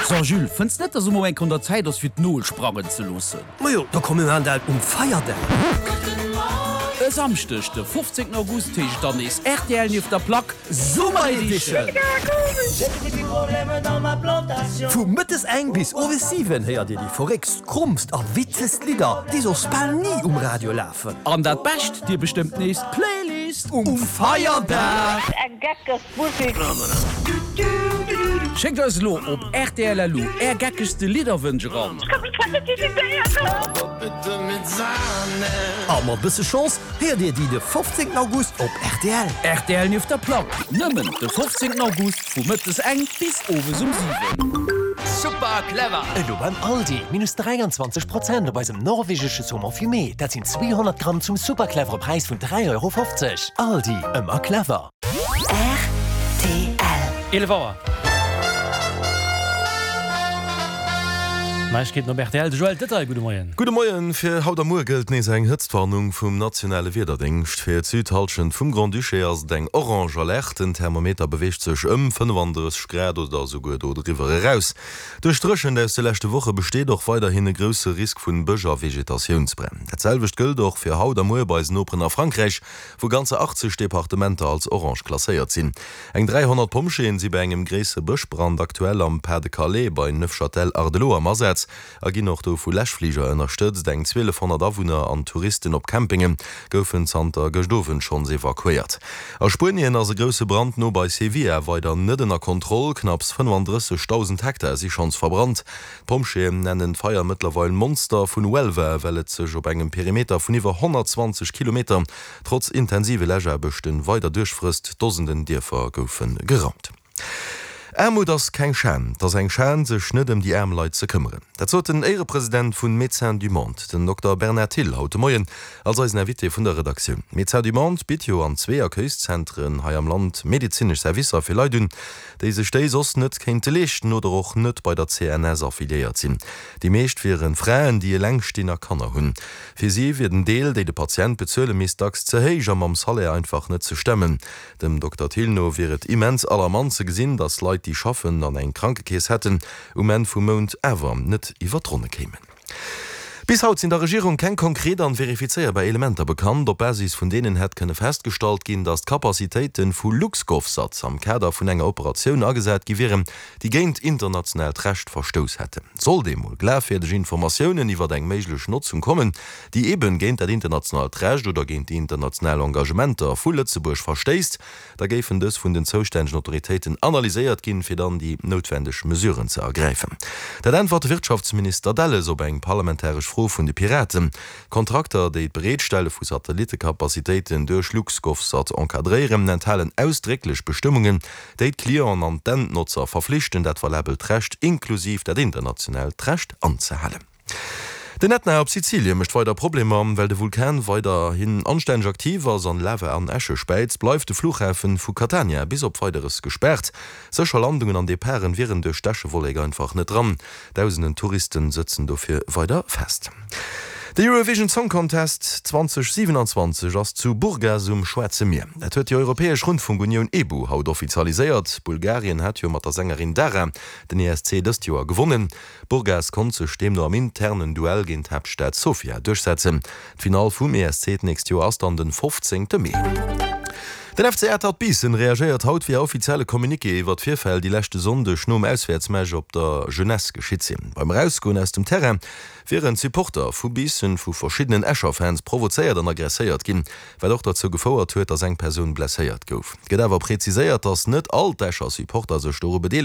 So Jules, fënns net, dass emol eng Kéier un der Zäit ass fir d'Nol sprangen ze loossen? Majo, da komm mir maachen dat um Feierdag. E Samschdeg de 15 August heescht et dann nees rtl nieft der Plack Summer Edition! Vu mëttes eng bis owes 7 héiert dir déi verréckst, krommst a witzegst Lidder, déi soss bal ni um Radio lafen. An dat Bescht, dir bestëmmt nees d'Playlist um Feierdag! Eng geckeg Musik. Schéckt eis elo op rtl.lu är geckegste Lidderwënsch eran. A mat bësse Chance héiert dir déi de 15 August op rtl. Rtl nieft der Plack, nëmmen de 15 August vu mëttes eng bis owes um 7. Super clever! Elo beim Aldi, minus 23 Prozent op eisem norwegesche Saumon fumé, dat sinn 200 Gramm zum super clevere Präis vun 3,50 Euro. Aldi, ëmmer clever! Rtl. 11 Auer. Neiegkeeten op rtl, de Joël Detail, gudde Moien. Gudde Moien. Fir haut a muer gëllt nees eng Hëtztwarnung vum nationale Wiederdéngscht. Fir d'Südhallschent vum Grand-Duché ass et eng orange Alerte. Den Thermometer beweegt sech ëm 35 Grad oder esouguer do driwwer eraus. Duerch d'Dréchent aus de leschte Woche besteet och weiderhin e grousse Risk vun Bësch a Vegetatiounsbränn. Dat selwecht gëllt och fir haut a muer bei eisen Noperen a Frankräich. wou ganzer 80 Departementer als orange klasséiert sinn. Eng 300 Pompjeeën si bei engem gréissere Bëschbrand aktuell am Pas-de-Calais bei Neufchâtel-Hardelot am Asaz a ginn och do vu Läschfliger ënnerstëtzt. Eng 1.200 Awunner an Touristen op Campinge goufen zanter gëscht Owend schonns evakuéiert. A Spuenien ass e grousse Brand no bei Sevilla weider net ënner Kontroll. Knapps 35.000 Hektar si schonns verbrannt. D'Pompjeeën nennen d'Feier mëttlerweil Monster vun Huelva, well et sech op engem Perimeter vun iwwer 120 Kilometer trotz intensive Läschaarbechten weider duerchfrësst. Dosenden Dierfer goufe geraumt. Aarmut ass keng Schan, 't ass eng Schan, sech net ëm déi aarm Leit ze këmmeren. Dat sot den Éierepresident vun Médecins du Monde, den Dokter Bernard Thill, haut de Moien als eisen Invité vun der Redaktioun. Médecins du Monde bitt jo an zwee Accueilszentren hei am Land medezinesch Servicer fir Leit un, déi sech déi soss net kéinte leeschten oder och net bei der CNS affiliéiert sinn. Déi meescht wiere Fraen, déi eleng stinn a Kanner hunn. Fir si wier den Deel, déi de Patient bezuele misst, dacks ze héich a mam Salaire einfach net ze stemmen. Dem Dokter Thill no wier et immens alarmant ze gesinn, datt Leit, déi schaffen an eng Krankekeess hätten, um Enn vum Mount awer net iwwer d'Ronne kéimen. Bis haut sinn der Regierung keng konkret an verifizéierbar Elementer bekannt, op Basis vun deenen hätt kënne festgestallt ginn, datt d'Capacitéiten vu LuxGovSat am Kader vun enger Operatioun agesat gi wieren, déi géint internationaalt Recht verstouss hätten. Sollt eemol glafwierdeg Informatiounen iwwert eng méiglech Notzung kommen, déi eeben géint dat internationalt Recht oder géint déi international Engagementer vu Lëtzebuerg verstéisst, Da géifen dës vun den zoustännegen Autoritéiten analyséiert ginn, fir dann déi noutwendeg Mesuren ze ergräifen. Dat äntwert de Wirtschaftsminister Delles op eng parlamentaresch Fro vun de Piraten. D'Kontrakter, déi d'Bereetstelle vu Satellittecapacitéiten duerch LuxGovSat encadréieren, enthalen ausdrécklech Bestëmmungen, déi d'Clienten an d'Endnotzer verflichten, dat valabelt Recht, inklusiv dat internationaalt Recht, anzehalen. Den Ätna op Sizilien mécht weider Problemer. Well de Vulkan weiderhin anstänneg aktiv ass an Lava an Äsche späizt, bleift de Fluchhafen vu Catania bis op Weideres gespaart. Sécher Landungen an Departen wieren duerch d'Äschewollek einfach net dran. Dausenden Touristen sëtzen dofir weider fest. De Eurovision Song Contest 2027 ass zu Burgas um Schwaarze Mier. Dat huet déi europäesch Rundfunkunioun EBU haut offizialiséiert. Bulgarien hat jo mat der Sängerin Dara den ESC dëst Joer gewonnen. Burgas konnt sech deemno am internen Duell géint d'Haaptstad Sofia duerchsetzen. D'Finall vum ESC d'nächst Joer ass dann den 15 Mee. Den FC Atert Biissen reagéiert haut via offizielle Communiqué iwwer d'Virfäll, déi leschte Sonndeg nom Auswäertsmatch op der Jeunesse geschitt sinn. Beim Erausgoen aus dem Terrain wieren d'Supporter vu Biissen vu verschiddenen Escher Fans provozéiert an aggresséiert ginn, wat och derzou gefouert huet, datt eng Persoun blesséiert gouf. Et gëtt awer preziséiert, datt net all d'Escher Supporter sech doru bedeelegt hätten.